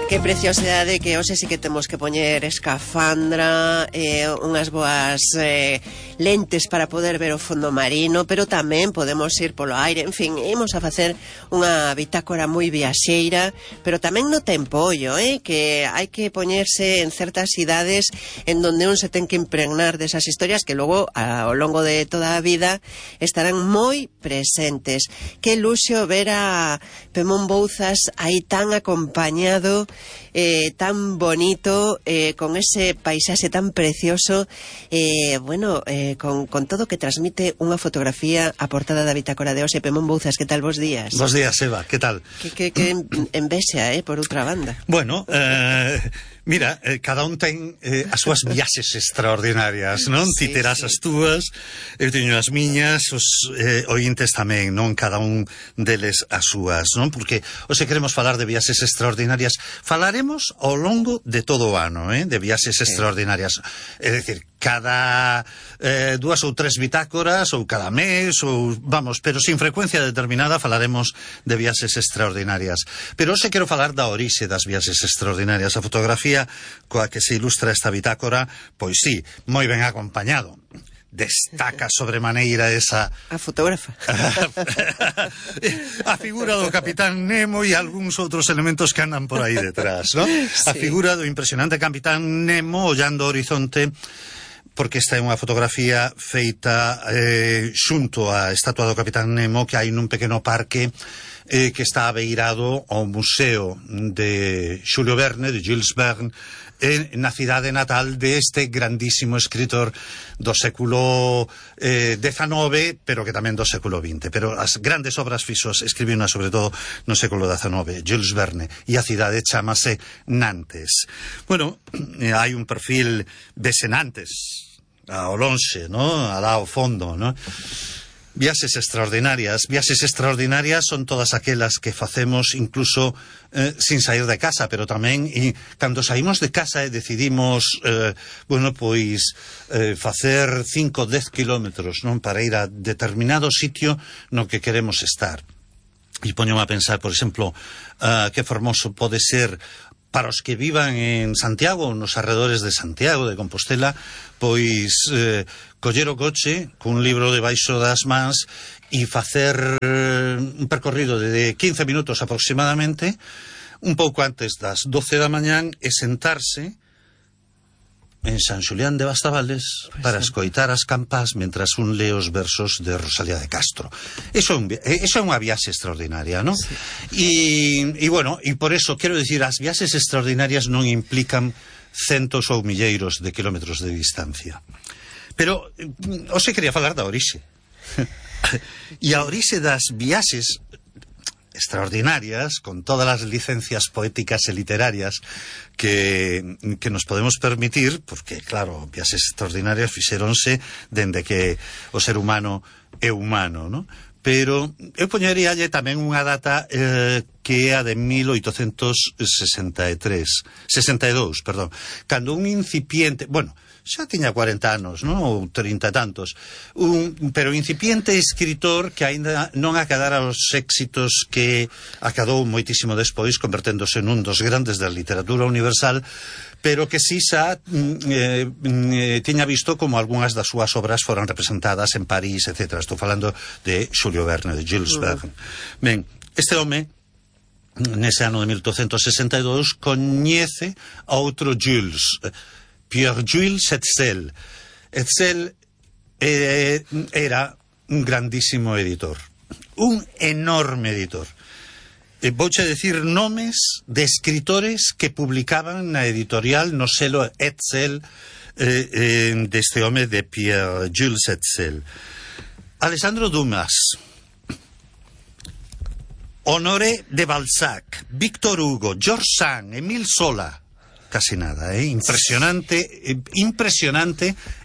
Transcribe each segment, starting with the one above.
Que preciosidade que hoxe sí que temos que poñer escafandra, unhas boas lentes para poder ver o fondo marino, pero tamén podemos ir polo aire. En fin, imos a facer unha bitácora moi viaxeira, pero tamén no tempo, que hai que poñerse en certas idades en donde un se ten que impregnar desas historias que logo ao longo de toda a vida estarán moi presentes. Que luxo ver a Pemón Bouzas aí tan acompañado, tan bonito, con ese paisaxe tan precioso, con todo que transmite unha fotografía a portada da bitácora de hoxe. Pemón Bouzas, que tal? Bos días. Bos días, Eva, que tal? Que envexa, por outra banda. Bueno, mira, cada un ten as súas viaxes extraordinarias, non? Sí, Ti terás sí. as túas, eu teño as miñas, os ointes tamén, non? Cada un deles as súas, non? Porque hoxe queremos falar de viaxes extraordinarias. Falaremos ao longo de todo o ano, de viaxes extraordinarias. É dicir, cada 2 ou 3 bitácoras, ou cada mes, ou vamos, pero sin frecuencia determinada falaremos de viaxes extraordinarias. Pero hoxe quero falar da orixe das viaxes extraordinarias. A fotografía coa que se ilustra esta bitácora, pois sí, moi ben acompañado. Destaca sobremaneira esa... A fotógrafa. A figura do Capitán Nemo e algúns outros elementos que andan por aí detrás, non? A figura do impresionante Capitán Nemo ollando o horizonte, porque esta é unha fotografía feita xunto á estatua do Capitán Nemo que hai nun pequeno parque que está abeirado ao museo de Xulio Verne, de Jules Verne, na cidade natal deste grandísimo escritor do século XIX, pero que tamén do século XX. Pero as grandes obras fixos escribiuna sobre todo no século XIX, Jules Verne, e a cidade chamase Nantes. Bueno, hai un perfil vese Nantes ao lonxe, ¿no? Alá ao fondo, ¿no? Viaxes extraordinarias son todas aquelas que facemos incluso sin sair de casa, pero tamén cando saímos de casa e decidimos facer 5-10 kilómetros, non, para ir a determinado sitio no que queremos estar. E poñome a pensar, por exemplo, que formoso pode ser para os que vivan en Santiago, nos arredores de Santiago, de Compostela, pois coller o coche cun libro debaixo das mans e facer un percorrido de 15 minutos aproximadamente, un pouco antes das 12 da mañán, e sentarse en San Xulián de Bastavales para escoitar as campás mentras un lee os versos de Rosalía de Castro. Eso é unha viaxe extraordinaria, non? Sí. E por eso, quero dicir, as viaxes extraordinarias non implican centos ou milleiros de kilómetros de distancia. Pero hoxe quería falar da orixe. E a orixe das viaxes extraordinarias, con todas as licencias poéticas e literarias que nos podemos permitir, porque, claro, viaxes extraordinarias fixéronse dende que o ser humano é humano, non? Pero eu poñeríalle tamén unha data que é a de 1862, cando un incipiente... Bueno, xa tiña 40 anos, non? Ou 30 e tantos. Pero incipiente escritor que aínda non acadara os éxitos que acadou moitísimo despois, converténdose nun dos grandes da literatura universal, pero que si xa tiña visto como algunhas das súas obras foran representadas en París, etc. Estou falando de Xulio Verne, de Jules Verne. Ben, este home, nese ano de 1862, coñece a outro Jules, Pierre-Jules Hetzel. Hetzel era un grandísimo editor, un enorme editor. Vouche decir nomes de escritores que publicaban na editorial no selo Hetzel deste home de Pierre-Jules Hetzel. Alexandre Dumas, Honoré de Balzac, Victor Hugo, George Sand, Émile Zola. Casi nada, impresionante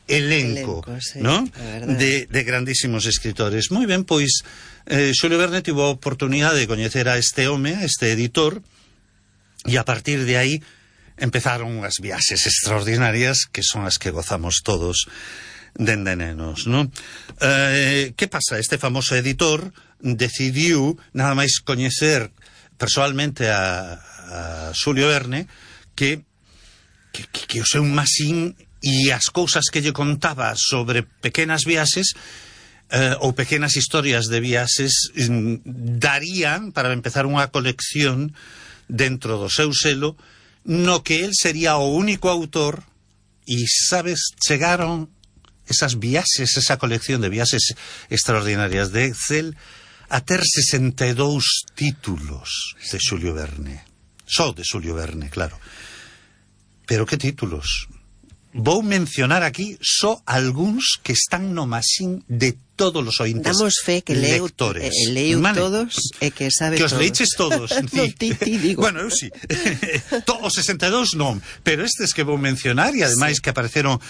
elenco, sí, ¿no? De grandísimos escritores. Moi ben, pois Xulio Verne tivo a oportunidade de coñecer a este home, a este editor, e a partir de aí empezaron unhas viaxes extraordinarias que son as que gozamos todos dende nenos, non? Que pasa? Este famoso editor decidiu nada máis coñecer persoalmente a a Xulio Verne que o seu masín e as cousas que lle contaba sobre pequenas viaxes ou pequenas historias de viaxes darían para empezar unha colección dentro do seu selo no que él sería o único autor e, sabes, chegaron esas viaxes, esa colección de viaxes extraordinarias de Excel a ter 62 títulos de Xulio Verne. Só de Xulio Verne, claro. Pero que títulos? Vou mencionar aquí só algúns que están no masín de todos os ointes damos fe que leu vale? Todos e que sabe que os todos. leiches todos. No, ti digo. Bueno, eu sí. Os 62 non, pero estes que vou mencionar e ademais que apareceron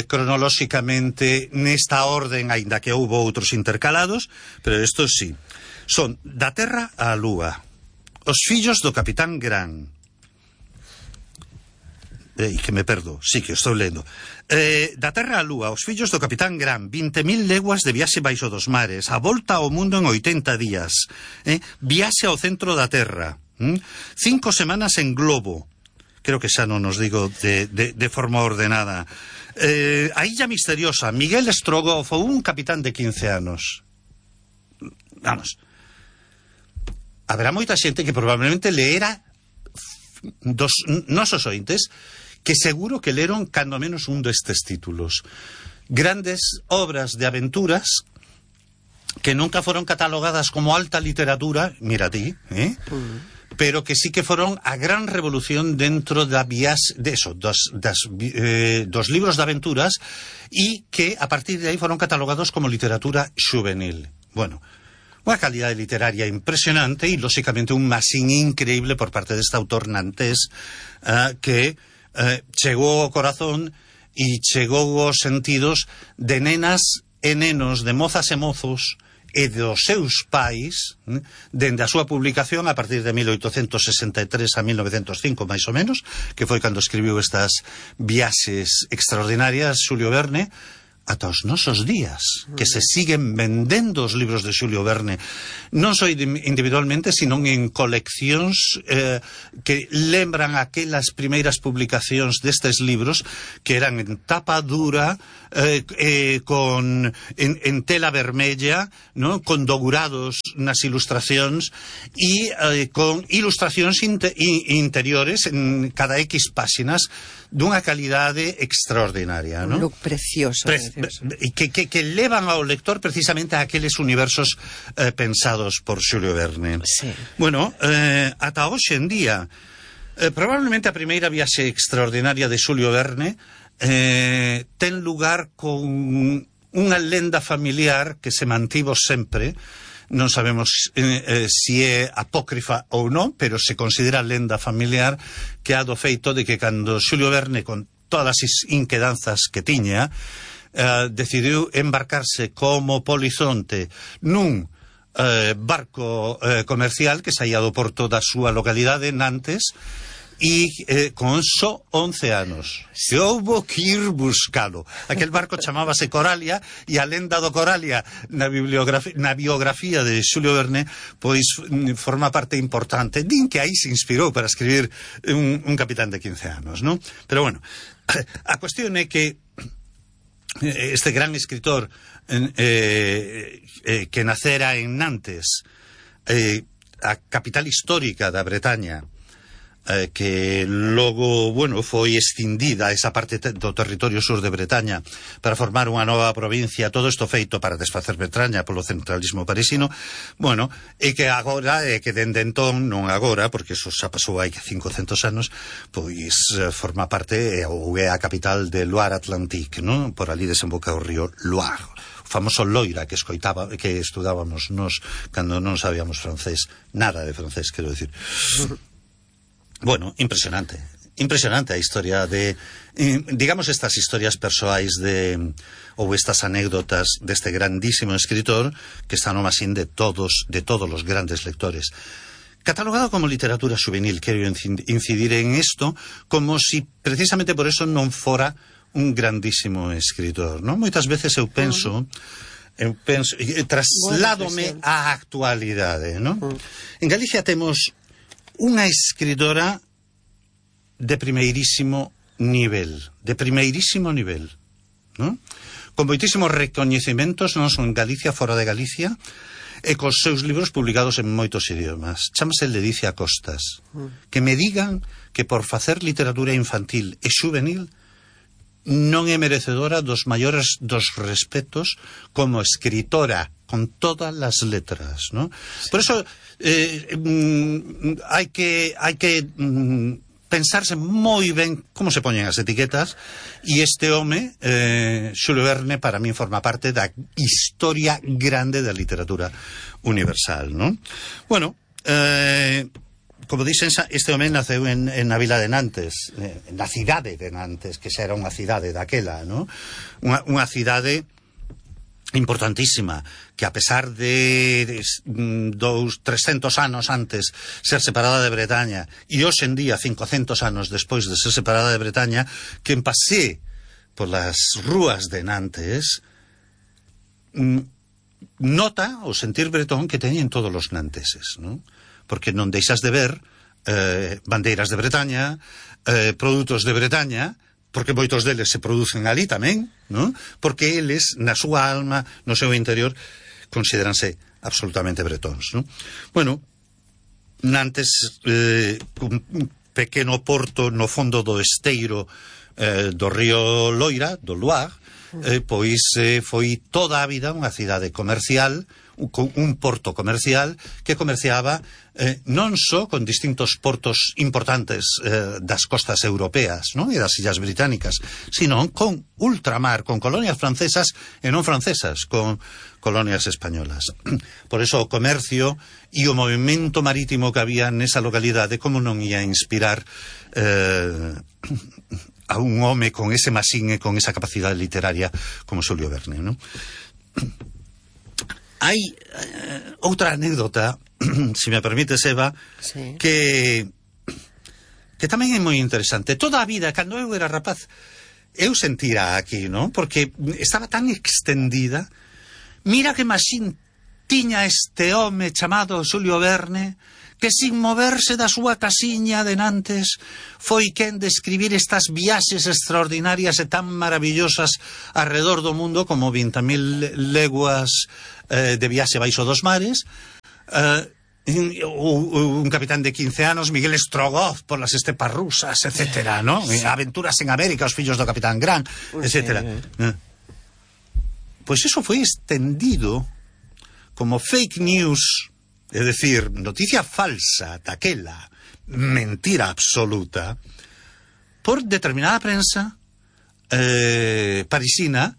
cronolóxicamente nesta orden, aínda que houbo outros intercalados, pero estos sí. Son Da Terra á Lúa, Os fillos do Capitán Gran, que me perdo, sí que estou lendo. Da Terra á Lúa, Os fillos do Capitán Gran, 20.000 leguas de viaxe baixo dos mares, A volta ao mundo en 80 días, Viaxe ao centro da Terra, 5 semanas en globo, creo que xa non nos digo de forma ordenada, A illa misteriosa, Miguel Strogoff, un capitán de 15 anos. Vamos, haberá moita xente que probablemente leera dos nosos ointes que seguro que leron cando menos un destes títulos. Grandes obras de aventuras que nunca foron catalogadas como alta literatura, mira ti, pero que sí que foron a gran revolución dentro da dos libros de aventuras e que a partir de aí foron catalogados como literatura xuvenil. Bueno, unha calidade literaria impresionante e, lóxicamente, un masín increíble por parte deste autor nantés que chegou ao corazón e chegou aos sentidos de nenas e nenos, de mozas e mozos e dos seus pais dende a súa publicación a partir de 1863 a 1905 máis ou menos, que foi cando escribiu estas viaxes extraordinarias Xulio Verne, ata os nosos días, que se siguen vendendo os libros de Xulio Verne, non só individualmente, sino en coleccións que lembran aquelas primeiras publicacións destes libros que eran en tapa dura, en tela vermella, ¿no? Con dourados nas ilustracións e con ilustracións interiores en cada X páxinas dunha calidade extraordinaria, ¿no? Un look precioso. Que levan ao lector precisamente a aqueles universos pensados por Xulio Verne. Sí. Bueno, ata hoxe en día, probablemente a primeira viaxe extraordinaria de Xulio Verne ten lugar con unha lenda familiar que se mantivo sempre. Non sabemos se é apócrifa ou non, pero se considera lenda familiar, que ha do feito de que cando Xulio Verne, con todas as inquedanzas que tiña, decidiu embarcarse como polizonte nun barco comercial que saía do porto da súa localidade, Nantes, e con só 11 anos. Se houbo que ir buscalo. Aquel barco chamábase Coralia, e a lenda do Coralia na biografía de Xulio Verne pois forma parte importante. Din que aí se inspirou para escribir un capitán de 15 anos, non? Pero bueno, a cuestión é que este gran escritor que nacera en Nantes, a capital histórica da Bretaña, que logo, bueno, foi escindida esa parte do territorio sur de Bretaña para formar unha nova provincia, todo isto feito para desfacer Bretaña polo centralismo parisino. Bueno, e que agora, que dende entón, non agora, porque eso xa pasou hai 500 anos, pois forma parte ou é a capital de Loire Atlantique, non? Por ali desemboca o río Loire, o famoso Loira que estudábamos nos cando non sabíamos francés, nada de francés, quero decir. Bueno, impresionante a historia de, digamos, estas historias persoais ou estas anécdotas deste grandísimo escritor que está no masín de todos os grandes lectores. Catalogado como literatura juvenil, quero incidir en isto como si precisamente por eso non fora un grandísimo escritor, non? Moitas veces eu penso trasládome á actualidade, non? En Galicia temos unha escritora de primeirísimo nivel, non? Con moitísimos recoñecementos, non son en Galicia, fora de Galicia, e cos seus libros publicados en moitos idiomas. Chámase Ledicia Costas. Que me digan que por facer literatura infantil e xuvenil non é merecedora dos maiores dos respetos como escritora, con todas as letras, ¿no? Sí. Por eso hai que pensarse moi ben como se poñen as etiquetas, e este home, Xulio Verne, para min forma parte da historia grande da literatura universal, ¿no? Bueno, como dicen, este home naceu na vila de Nantes, na cidade de Nantes, que xa era unha cidade daquela, ¿no? Unha cidade importantísima, que a pesar de 300 anos antes ser separada de Bretaña, e hoxe en día 500 anos despois de ser separada de Bretaña, que pasé por las rúas de Nantes, nota o sentir bretón que teñen todos os nanteses, ¿no? Porque non deixas de ver bandeiras de Bretaña, produtos de Bretaña, porque moitos deles se producen ali tamén, ¿no? Porque eles, na súa alma, no seu interior, consideranse absolutamente bretóns, ¿no? Bueno, Nantes, un pequeno porto no fondo do esteiro do río Loira, do Loire, pois foi toda a vida unha cidade comercial, un porto comercial que comerciaba non só con distintos portos importantes das costas europeas, non? E das illas británicas, sino con ultramar, con colonias francesas e non francesas, con colonias españolas. Por eso o comercio e o movimento marítimo que había nesa localidade, como non ia inspirar a un home con ese masín e con esa capacidade literaria como Xulio Verne, non? Hai outra anécdota, se me permite, Eva, sí, que tamén é moi interesante. Toda a vida, cando eu era rapaz, eu sentira aquí, non? Porque estaba tan extendida. Mira que masín tiña este home chamado Xulio Verne, que sin moverse da súa casiña de Nantes foi quen de escribir estas viaxes extraordinarias e tan maravillosas alrededor do mundo como 20.000 leguas de viaxe baixo dos mares, un capitán de 15 anos, Miguel Strogoff por las estepas rusas, etcétera, ¿no? Aventuras en América, os fillos do capitán Grant, etcétera. Pois eso foi extendido como fake news, é dicir, noticia falsa daquela, mentira absoluta, por determinada prensa parisina,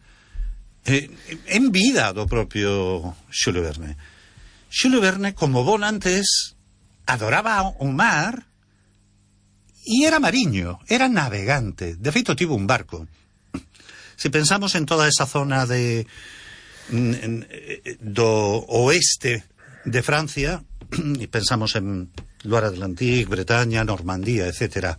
en vida do propio Xulio Verne. Xulio Verne, como bon antes, adoraba o mar e era mariño, era navegante. De feito, tivo un barco. Se pensamos en toda esa zona do oeste de Francia, e pensamos en Loire Atlantique, Bretaña, Normandía, etcétera,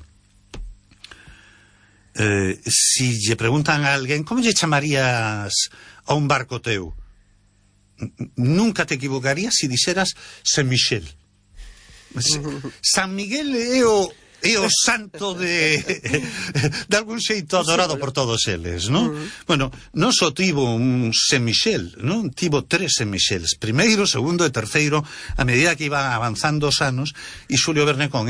si lle preguntan a alguén como lle chamarías a un barco teu, nunca te equivocarías si dixeras Saint-Michel. San Miguel é o santo de algún xeito adorado por todos eles, non? Bueno, non só tivo un Saint-Michel, non? Tivo 3 Saint-Michels, primeiro, segundo e terceiro, a medida que iban avanzando os anos, e Xulio Verne con